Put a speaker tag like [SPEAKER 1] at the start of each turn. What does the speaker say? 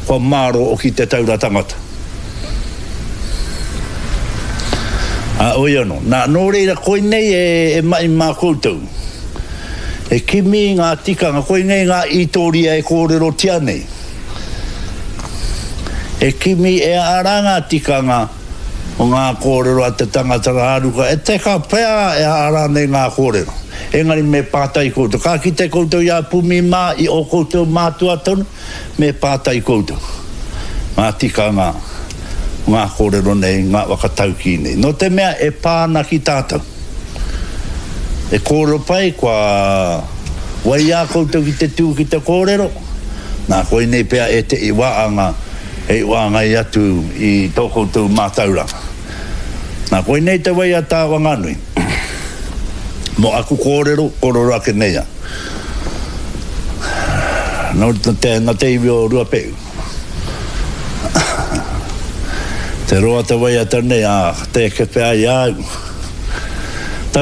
[SPEAKER 1] Kua mārō oki te taura tangata. Ā, oi anō. Nā, nō reira, koinei e, e mahi mā koutou. E kimi i ngā tikanga, koinei ngā ītōria e kōrerotia nei. E kimi e ara ngā tikanga o ngā kōrero a te tangata rāruka, e teka pea e ara nei ngā kōrero. Engari me pātai koutou. Ka kite koutou i a Pumi mā, i ō koutou mātua tonu, Me pātai koutou ngā tikanga o ngā kōrero nei, ngā whakataukī nei. Nō te mea e pā ana ki tātou. E kōrero pai, kua waiā koutou ki te tū ki te kōrero, nā koinei pea ētehi wāanga hei wāngai atu i tō koutou mātauranga. Nā koinei te waiata a Wanganui. Mō aku kōrero, kōrero ake nei au. Nō te, nō te iwi o Ruapehu. Te roa te waiata nei, ā, tē kepe ai a au.